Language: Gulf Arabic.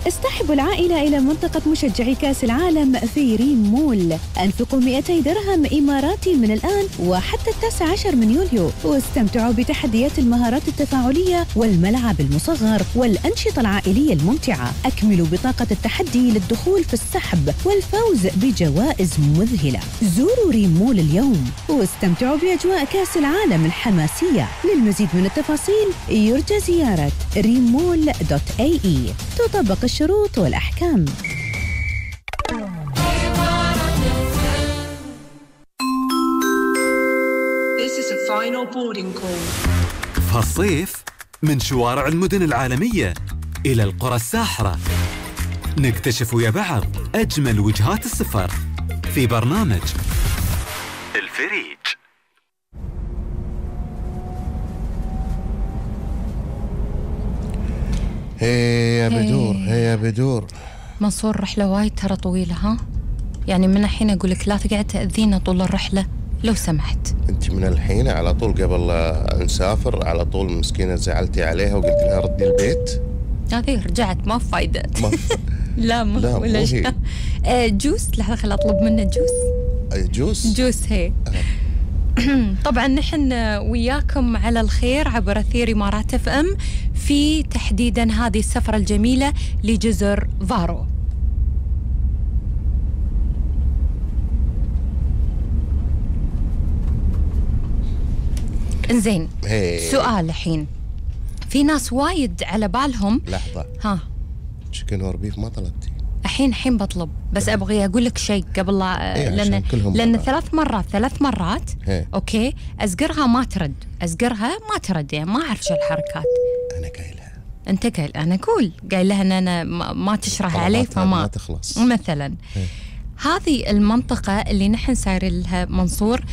اصطحبوا العائلة إلى منطقة مشجعي كأس العالم في ريم مول. أنفقوا 200 درهم إماراتي من الآن وحتى 19 من يوليو، واستمتعوا بتحديات المهارات التفاعلية والملعب المصغر والأنشطة العائلية الممتعة. أكملوا بطاقة التحدي للدخول في السحب والفوز بجوائز مذهلة. زوروا ريم مول اليوم واستمتعوا بأجواء كأس العالم الحماسية. للمزيد من التفاصيل يرجى زيارة rimmall.ae. تطبق الشروط والأحكام. This is a final boarding call. في هالصيف من شوارع المدن العالمية إلى القرى الساحرة نكتشف ويا بعض أجمل وجهات السفر في برنامج الفريج. هيا بدور هيا بدور. منصور رحلة وايد ترى طويلة، ها؟ يعني من الحين أقول لك لا تقعد تأذينا طول الرحلة لو سمحت. أنت من الحين على طول قبل نسافر على طول مسكينة زعلتي عليها وقلت لها ردي البيت؟ هذه رجعت ما فايدة. لا مو هي. جوس، لحظة خل أطلب منه جوس. جوس هي. طبعا نحن وياكم على الخير عبر أثير إمارات اف ام في تحديدا هذه السفرة الجميلة لجزر فارو. انزين، سؤال الحين، في ناس وايد على بالهم. لحظة، ها تشيكن وربيف ما طلبتي؟ الحين بطلب، بس ابغي اقول لك شيء قبل لا لان ثلاث مرات اوكي ازقرها ما ترد يعني ما اعرف شو الحركات. انا قايلها، انت قايل، انا اقول قايل لها ان انا ما تشرح علي فما تخلص. مثلا هذه المنطقة اللي نحن سايرين لها منصور